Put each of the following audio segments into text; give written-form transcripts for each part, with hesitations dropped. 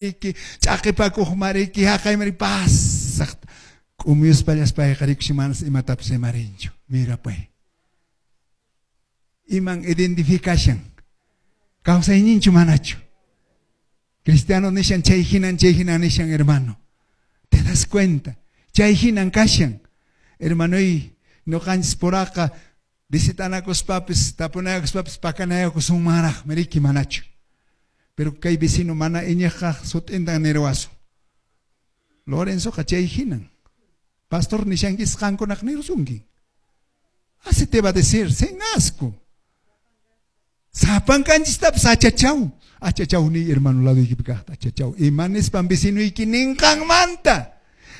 Iki ch'aqipakuqmariki haqaymari pasaqta k'umuyuspallaspayqa rikushi manas imatapis rimarinchu. Mirapay. Iman identificashan? Kawsayninchu manachu? Cristiano nishan chay hinan chay hinan nishan hermano. ¿Te das cuenta? Chay hinan kashan. Hermanoy, ñuqanchis puraqa visitanakuspapis tapunayakuspapis pakanayakusunmanraqmi riki manachu. Pero kay vecino mana iñiqqa sut'intan nirwasun. Lorenzoqa chay hinan. Pastor nishankis qankunaq nirusunki. Así te va a decir, sin asco. Sapankanchistapas achachaw. Achachaw ni hermano ladoykipi kaqta achachaw. Ima nispan vecinoyki ninqanmanta.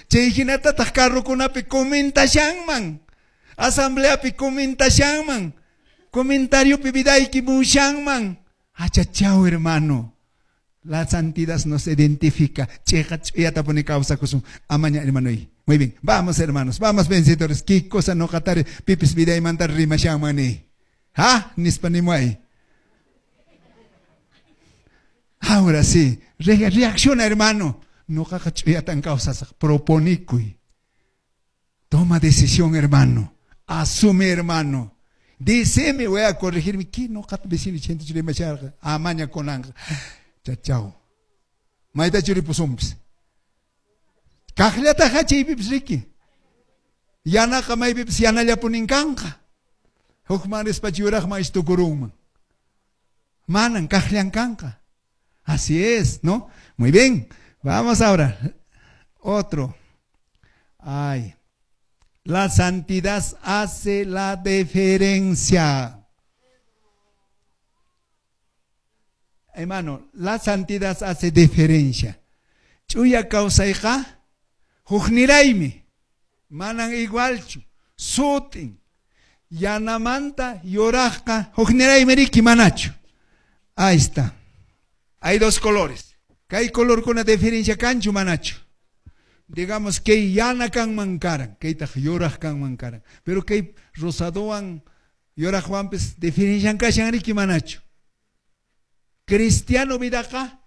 Chay hinatataq carrokunapi comentashanman. Asambleapi comentashanman. Comentariopi vidayki mushanman. Achachaw hermano. La santidad nos identifica. Cheqa ch'uyatapuni kawsakusun. Amaña hermanoy. Muy bien. Vamos hermanos. Vamos vencedores. ¿Qué cosa noqatari pipis vidaymanta rimashanman ni? ¿Ha? Nispa nimuay. Ahora sí. Reacciona hermano. Noqaqa ch'uyatan kawsasaq. Proponikuy. Toma decisión hermano. Asume hermano. Díceme, voy a corregirme. ¿Qué noqata vecino chente rimasharqa? Amaña kunanqa. Chachaw. Mayta churipusunpis. Kaqllataqa chaypipis riki. Yanaqa maypipis yanallapunin kanqa. Hukman rispachu yuraqman istukurunman. Manan kaqllan kanqa. Así es, ¿no? Muy bien. Vamos ahora. Otro. Ay. La santidad hace la diferencia. Hermano, la santidad hace diferencia. Ch'uya kawsayqa hukniraymi. Manan igualchu. Sutin. Yanamanta yuraqqa hukniraymi riki manachu. Ahí está. Hay dos colores. Kay colorkuna diferencia kanchu manachu. Digamos que yana kanman karan, kaytaq yuraq kanman karan. Pero kay rosadowan yuraqwanpis diferencian kashan riki manachu. Cristiano vidaqa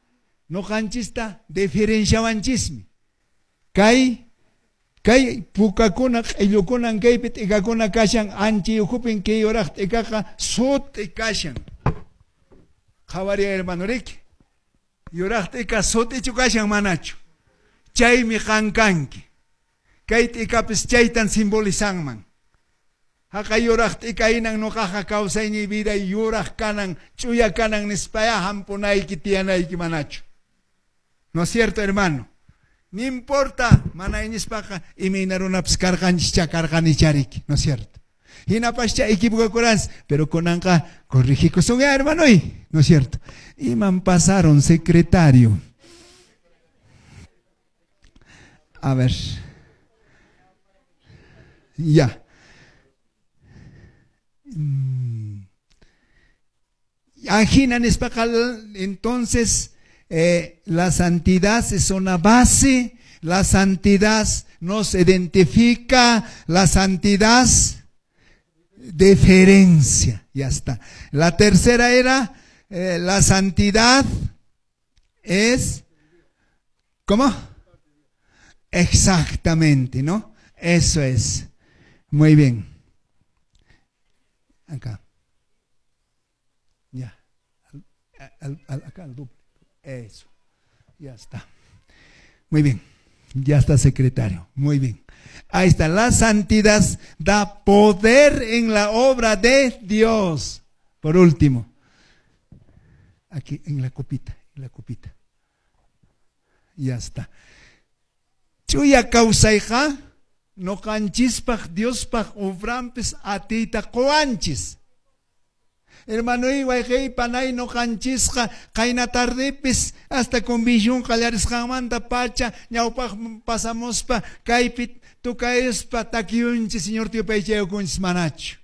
noqanchista diferenciawanchismi. Kay kay pukakuna q'illukunan kaypi t'ikakuna kashan anchi ukhupin kay yuraq t'ikaqa sut'i kashan. Qhawariy hermano riki. Yuraq t'ika sut'ichu kashan manachu. Chaymi qan kanki. Kay t'ikapis chaytan simbolizanman. Haqay yuraq t'ika hinan noqaqa kawsayniy vida yuraq kanan, ch'uya kanan nispaya hampunayki tiyanayki manachu. ¿No es cierto, hermano? Ni importa, mana iñispaqa imayna runapis karqanchis karqanicha riki, ¿no es cierto? Hinapascha equivocakuranchis, pero kunanqa corrigikusun ya, hermanoy, ¿no es cierto? Iman pasaron, secretario. A ver. Ya. Ajina nispaqa, entonces la santidad es una base, la santidad nos identifica, la santidad diferencia, ya está. La tercera era la santidad es, ¿cómo? Exactamente, ¿no? Eso es. Muy bien. Acá. Ya. Acá al doble. Eso. Ya está. Muy bien. Ya está, secretario. Muy bien. Ahí está. La santidad da poder en la obra de Dios. Por último. Aquí en la copita. En la copita. Ya está. Ch'uya kawsayqa noqanchispaq Diospaq obranpis atiyta quwanchis. Hermanoy wayqiy panay noqanchisqa qayna tardepis hasta convención qallarisqanmanta pacha ñawpaq pasamuspa kaypi tukayuspa takiyunchis Señor yupaychayukunchis manachu.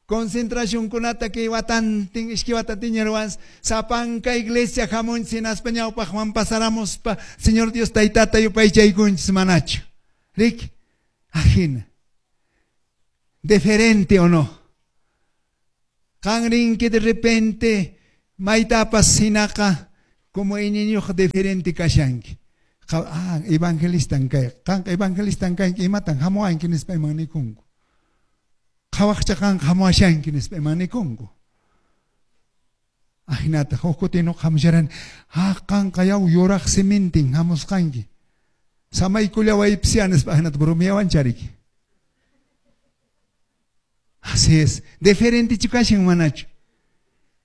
Concentracionkunata kay watantin iskay watantin ruwanchis sapanka iglesia hamunchis hinaspa ñawpaqman pasaramuspa Señor Dios taytata yupaychaykunchis manachu. Rik, ajina. Diferente o no? Qan rinki de repente maytapas hinaqa Como iñiyniyuq diferente kashanki. Ah, evangelistan kay. Qanqa evangelistan kanki, imatan hamuwanki nispa iman nikunku. Qhawaqcha qanqa hamuwashanki nispa iman nikunku. Ajinata, huk kutin nuqa hamusharani, ah, qanqa yaw yuraq simintin hamusqanki. Samaykullawaypisya nispa ajinata bromeawanchariki. Así es. Diferentechu kashan manachu?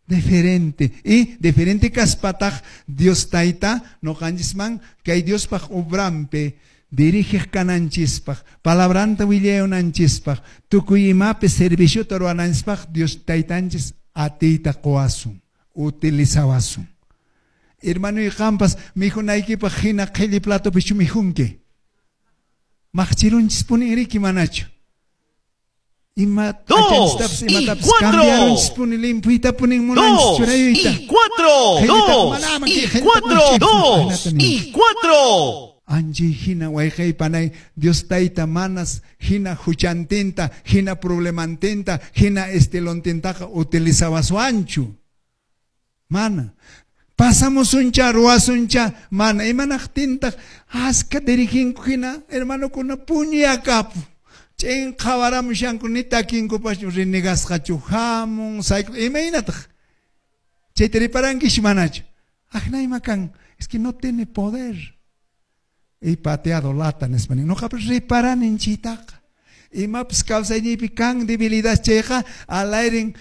Diferente. Y diferente kaspataq Dios Tayta noqanchisman kay Diospaq obrampi dirigiq kananchispaq, palabranta willayunanchispaq, tukuy imapi serviciota ruwananchispaq Dios Taytanchis atiyta qowasun, utilizawasun. Hermanoy, qampas mikhunaykipaq hina qhilli platopichu mikhunki? Maqchirunchispuni riki manachu? Ima 2 y imatapas 4. cambiarunchispuni limpuytapunin munanchis 2 churayuyta. y 4. 2 y 4. 2 y 4. Anchi hina wayqey panay Dios Tayta manas hina huchantinta, hina problemantinta, hina estilontинtaqa utilizawaswanchu. Mana. Pasamusuncha, ruwasuncha, mana. Imanaqtintaq aska diriginku hina hermanokuna puñuyakapu. Ch'in qhawaramushanku ni takinkupaschu renegasqachu hamun, sayku, imaynataq? Chayta riparankichu manachu? Ajna ima kan, es que no tiene poder. Y pateado lata nispa nin. Noqapas riparanin chaytaqa. Imapas kawsayniypi kan debilidad chayqa alayrin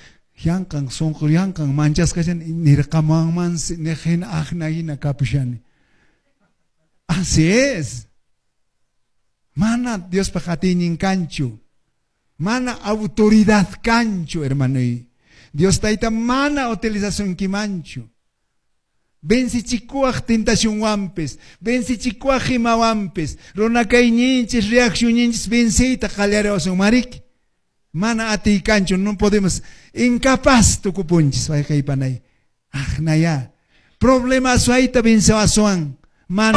yanqan sunqu yanqan manchasqa nirqamuwanmansi niq hina ajna hina kapushani. Así es. Mana Diospaq atiynin kanchu. Mana autoridad kanchu, hermanoy. Dios Tayta mana utilizasunkimanchu. Vencichikuaq tentacionwanpis, vencichikuaq imawanpis, runa kayninchis, reaccionninchis venciyta qallariwasun marik. Mana atiy kanchu, no podemos, incapaz tukupunchis, wayqey panay. Ajnaya. Problema suayta vencewasuan. Mana.